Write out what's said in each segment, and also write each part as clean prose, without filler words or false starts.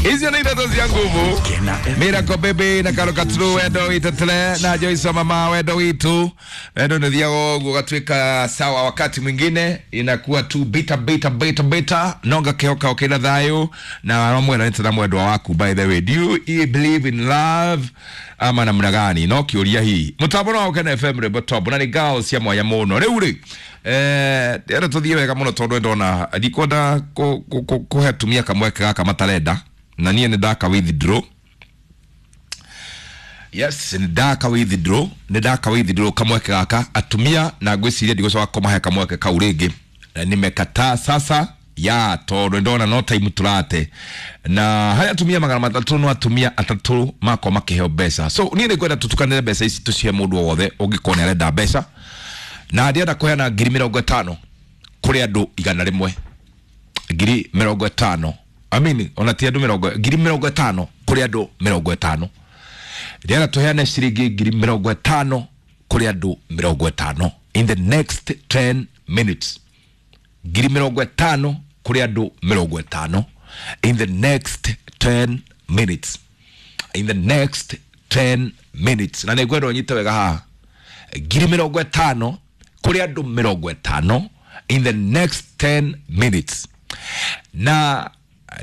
Icio nĩ ithatũ cia nguvu. Miracle Baby na Karo Katru wendo witũ tele na Joyce mama wendo witu. Wendo nĩ thiaga ũguo gatuĩka sawa, wakati mwingine inakuwa tu bita bita bita bita nonga kĩhoka ũkĩna thayũ na romwena nĩ tena mwendwa waku. By the way, do you believe in love ama namna gani? No kĩũria hihi mũtambo no Ũkena FM rwĩmbo top na nĩ girls cia mwanya mũno rĩu rĩ ndĩrenda tũthiĩ wega mũno tondũ ndona ndikwenda kũhe atumia kamweke gaka matarenda na niĩ nĩ ndaka withdraw. Yes, nĩ ndaka withdraw, nĩ ndaka withdraw kamweke gaka atumia, na ngwĩciria ndigũcoka kũmahe kamweke kau rĩngĩ. Na nimekataa sasa ya tondũ ndona no time tũrate na harĩ atumia 300 no atumia atatũ makorwo makĩheo mbeca. So niĩ nĩ ngwenda tũtukanĩre mbeca ici tũcihe mũndũ o wothe ũngĩkorwo nĩ arenda mbeca, na ndĩrenda kũheana 50,000 kũrĩ andũ 100. 50,000, I mean, ona ti andũ mĩrongo, 50,000 kũrĩ andũ 50. Ndĩrenda tũheane ciringi 50,000 kũrĩ andũ 50 in the next 10 minutes. 50,000 kũrĩ andũ 50 in the next 10 minutes, in the next 10 minutes. Na nĩngwenda ũnyite wega haha, 50,000 kũrĩ andũ 50 in the next 10 minutes. Na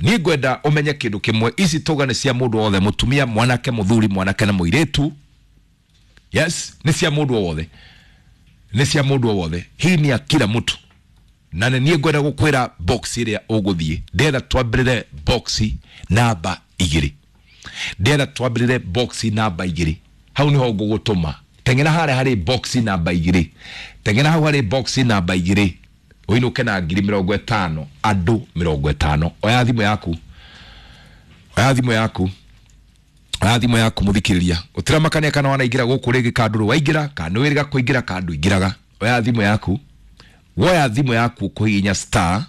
niĩ ngwenda ũmenye kĩndũ kĩmwe, ici tũga nĩ cia mũndũ wothe, mũtumia, mwanake, mũthuri, mwanake na mũirĩtu. Yes, nĩ cia mũndũ o wothe, nĩ cia mũndũ o wothe. Hii ni ya kila mtu. Na nĩ niĩ ngwenda gũkwĩra box ĩrĩa ũgũthiĩ. Ndĩrenda twambĩrĩre box namba 2, ndĩrenda twambĩrĩre box namba 2. Hau nĩho ngũgũtũma. Teng'era harĩa harĩ box namba 2, teng'era hau harĩ box namba 2 ũinũke na 50,000, andũ 50. Oya thimũ yaku, oya thimũ yaku, oya thimũ yaku mũthikĩrĩria. Ũtiramakania kana wanaingĩra gũkũ rĩngĩ kandũ rĩ waingĩra kana nĩ wĩrĩga kũingĩra kandũ ingĩraga. Oya thimũ yaku, woya thimũ yaku kũhihinya star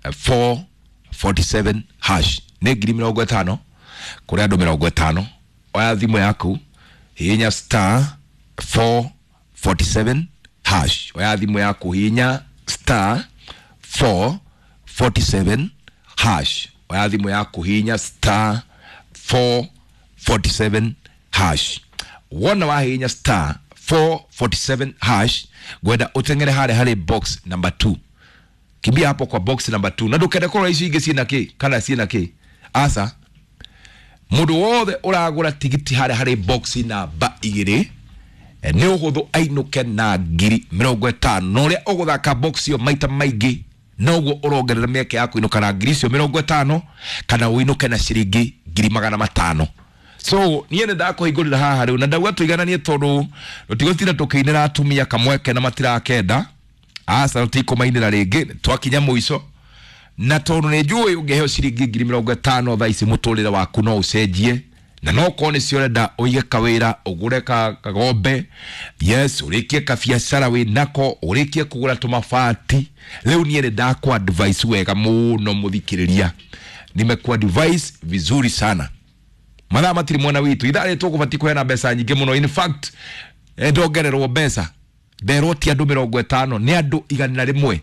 447 hash. Nĩ 50,000 kũrĩ andũ 50. Oya thimũ yaku, hihinya star 447 hash. Oya thimũ yaku, hihinya star 447 hash. Oya thimũ yaku, hihinya star 447 hash. Wona wahihinya star 447 hash, ngwenda ũteng'ere harĩa harĩ box number 2. Kimbia hapo kwa box number 2 na ndũkende kũrora icio ingĩ ciĩna kĩ kana ciĩna kĩ. Aca, mũndũ wothe ũragũra tigiti harĩa harĩ box namba 2 nĩ ũhũthũ ainũke na 50,000. Na ũrĩa ũgũthaka box ĩyo maita maingĩ noguo ũrongerera mĩeke ya kũinũka na ngiri icio 50 kana ũinũke na ciringi 500,000. So niĩ nĩ ndakũhingũrĩra haha rĩu na ndauga tũigananie tondũ tũtigũtinda tũkĩinĩra atumia kamweke na matirakenda. Aca, tũtikũmainĩra rĩngĩ, twakinya mũico. Na tondũ nĩ njũĩ ũngĩheo ciringi 50,000 thaa ici mũtũrĩre waku no ũcenjie, na no korwo nĩcio ũrenda ũige kawĩra, ũgũre kagombe, yes, ũrĩkie kabiacara wĩ nako, ũrĩkie kũgũra tũmabati. Rĩu niĩ nĩ ndakũ advice wega mũno mũthikĩrĩria, nimekũ advice vizuri sana. Mathaa matirĩ mwena witũ, ithaa rĩrĩ tũkũbatiĩ kũheana mbeca nyingĩ mũno. In fact, ndongererwo mbeca, nderwo ti andũ 50, nĩ andũ 100.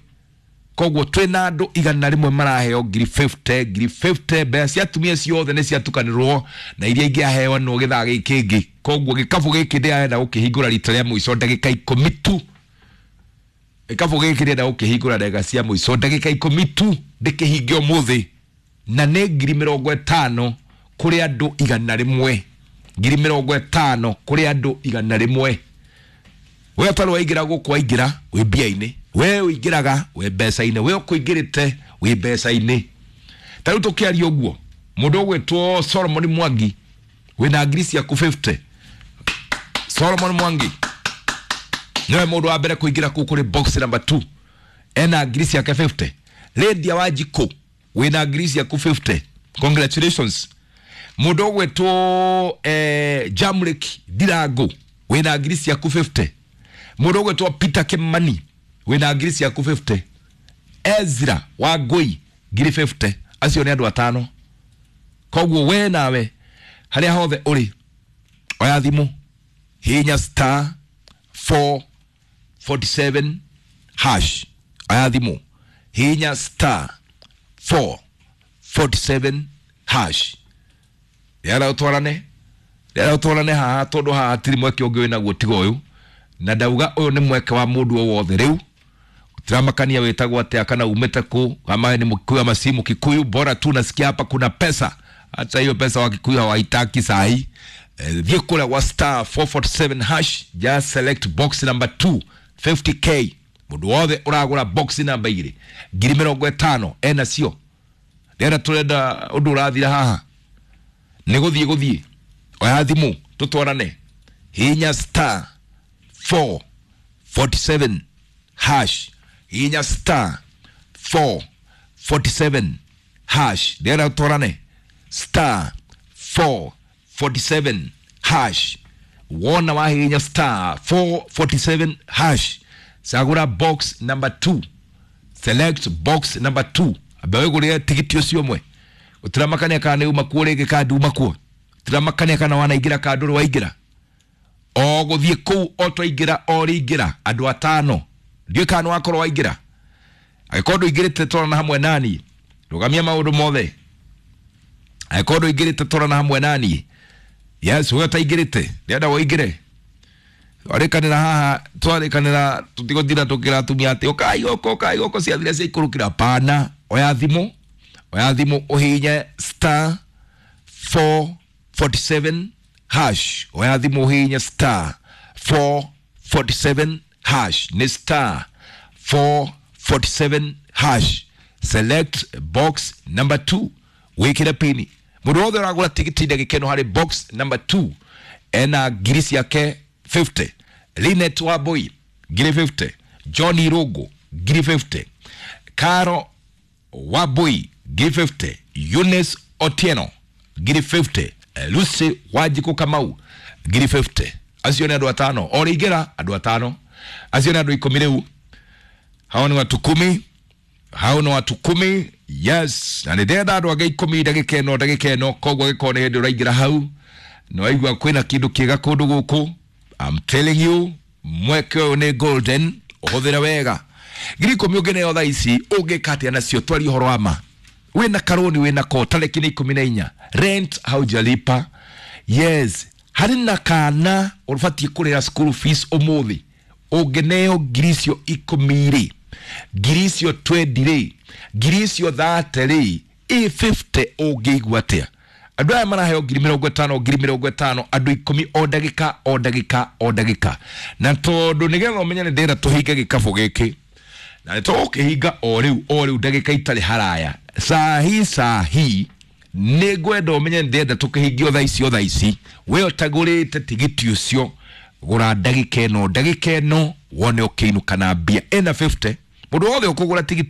Koguo twĩna andũ 100 maraheo 50,000, 50,000. Mbeca cia atumia ciothe nĩ ciatukanĩrwo na iria ingĩaheanwo gĩthaa gĩkĩ kĩngĩ. Koguo gĩkabũ gĩkĩ ndĩrenda gũkĩhingũra rita rĩa mũico ndagĩka 10 tu. Gĩkabũ gĩkĩ ndĩrenda gũkĩhingũra ndagĩka cia mũico ndagĩka 10 tu, ndĩkĩhinge ũmũthĩ. Na nĩ 50,000 kũrĩ andũ 100. 50,000 kũrĩ andũ 100. We ũtarĩ waingĩra gũkũ waingĩra wĩ mbia-inĩ, we ũingĩraga wĩ mbeca-inĩ, we ũkũingĩrĩte wĩ mbeca-inĩ. Ta rĩu tũkĩaria ũguo, mũndũ ũgwĩtwo Solomon Mwangi wĩna ngiri ciaku 50. Solomon Mwangi niwe mũndũ wa mbere kũingĩra kũu kũrĩ box number 2, ena ngiri ciake 50. Lydia Wanjikũ wĩna ngiri ciaku 50, congratulations. Mũndũ ũgwĩtwo Jamrick Ndirango wĩna ngiri ciaku 50. Mũndũ ũgwĩtwo Peter Kimani wĩna ngiri ciaku 50. Ezra Wangui ngiri 50. Acio nĩ andũ atano. Koguo we nawe harĩa hothe ũrĩ, oya thimũ, hihinya star 447 hash. Oya thimũ, hihinya star 447 hash. Yara utwarane, yara utwarane haha tondu haha hatiri mweke ungi winaguo tiga uyu, na ndauga uyu ni mweke wa mundu o wothe riu tiramakania witagwo atia kana umite ku kama ni Mkikuyu ama si Mkikuyu, bora tu nasikia hapa kuna pesa. Hata hiyo pesa wa Kikuyu hawaitaki sahi. Thiĩ kũrĩa gwa star 447 hash, just select box number 2 50K. Mũndũ wothe ũragũra box number 2 50,000 ena cio. Ndĩrenda tũrenda ũndũ ũrathira haha nĩ gũthiĩ gũthiĩ, oya thimũ tũtwarane, hinya star 447 hash, hinya star 447 hash. Ndĩrenda tũtwarane star 447 hash. Wona wahinya star 447 hash, cagũra box number 2, select box number 2, ambe wĩgũrĩre tigiti ũcio ũmwe. Ũtiramakania kana nĩ uma kuo rĩngĩ kana nduma kuo, ũtiramakania kana wanaingĩra kana ndũrĩ waingĩra, o gũthiĩ kũu o twaingĩra o rĩingĩra andũ atano, ndiũĩ kana nĩ wakorwo waingĩra. Angĩkorwo ndũingĩrĩte twarana hamwe nani, rũgamia maũndũ mothe. Angĩkorwo ndũingĩrĩte twarana hamwe nani, yes, we ũtaingĩrĩte ndĩrenda ũingĩre. Twarĩkanĩra haha, twarĩkanĩra tũtigũtinda tũkĩra atumia atĩ ũkai gũkũ, ũkai gũkũ, ciathire ciaikũrũkĩra. Pana, oya thimũ, oya thimũ ũhihinye star 447 hash, oya thimũ ũhihinye star 447 hash, nĩ star 447 hash, select box number 2, wĩkĩre pini. Mũndũ wothe ũragũra tigiti ndagĩka ĩno harĩ box number 2 ena ngiri ciake 50. Linet Wambui ngiri 50, John Irungu ngiri 50, Caro Wambui ngiri 50, Eunice Otieno ngiri 50, Lucy Wanjikũ Kamau ngiri 50. Acio nĩ andũ atano, o rĩingĩra andũ atano, acio nĩ andũ 10 rĩu. Hao ni watu 10, hao ni watu 10. Yes, na nĩ ndĩrenda andũ angĩ 10 ndagĩka ĩno, ndagĩka ĩno. Koguo angĩkorwo nĩ hĩndĩ ũraingĩra hau nĩ waigua kwĩna kĩndũ kĩega kũndũ gũkũ, I'm telling you, mweke ũyũ nĩ golden, ũhũthĩre wega. 10,000 ũngĩneo thaa ici ũngĩka atĩa nacio? Twarie ũhoro wa ma. Wĩna karũni, wĩna ko, tarĩki nĩ 14, rent haujalipa. Yes, harĩ na kana ũbatiĩ kũrĩha school fees ũmũthĩ, ũngĩneo ngiri icio 10 rĩ, ngiri icio 20 rĩ, ngiri icio 30 rĩ, ĩ 50 ũngĩigua atĩa? Andũ aya maraheo 50,000, 50,000, andũ 10 o ndagĩka, o ndagĩka, o ndagĩka. Na tondũ nĩgetha ũmenye nĩ ndĩrenda tũhinge gĩkabũ gĩkĩ, na nĩ tũgũkĩhinga o rĩu, o rĩu ndagĩka itarĩ haraya, sahi sahi, nĩ ngwenda ũmenye nĩ ndĩrenda tũkĩhingie o thaa ici, o thaa ici. We ũtagũrĩte tigiti ũcio, gũra ndagĩka ĩno, ndagĩka ĩno, wone ũkĩinũka na mbia ĩna 50. Mũndũ wothe ũkũgũra tigiti